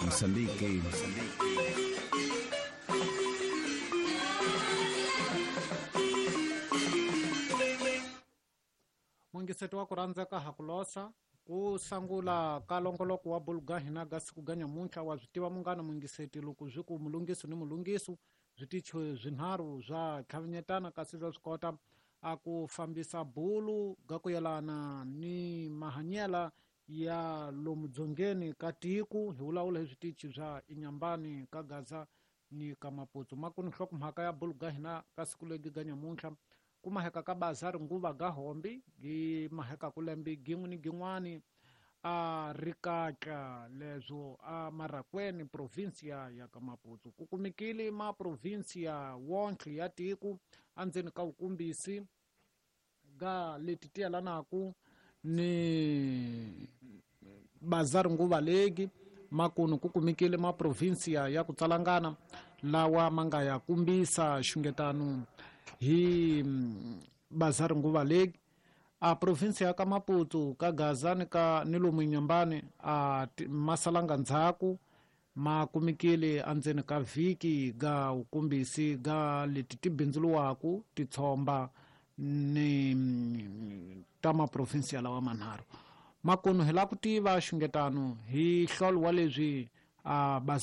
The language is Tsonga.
Moçambique. Mungiseto wa ku rhandzeka ha ku losa ku sangula ka longoloko wa buluga hina ga siku ga nyamuntlha. Wa swi tiva munghana mungiseti, loko swi ku mulungiso ni mulungiso switichi swinharhu swa tlhavinyetana, kasi swa swi kota a ku fambisa bulu ga ku yelana ni mahanyela ya lomu dzongeni ka tiku. Hi vulavula hi switichi swa Inyambani ka Gaza ni ka Maputo. Makuni nhlokomhaka ya bulu ga hina ka siku legi ga nyamuntlha ku maheka ka bazari nguva ga hombi gi maheka ku lembe gin'we ni gin'wani a rikatla leswo a Marakweni provinsia ya ka Maputo. Ku kumekile ma provinsia wonke ya tiku andzeni ka wukumbisi ga leti ti yelanaku ni bazari nguva legi. Makunu ku kumekile ma provinsia ya ku tsalangana lawa ma nga ya kumbisa xungetano hi bazari nguva legi. A provinsia ya ka Maputo ka Gaza ni ka ni lomu Inyambani a masalanga ndzhaku ma kumekile andzeni ka vhiki ga wukumbisi ga leti ti bindzuluwaku titshomba ni ta maprovinsia lawa manharhu. Makunu hi la ku tiva xungetano hi hlolo wa leswi a bazari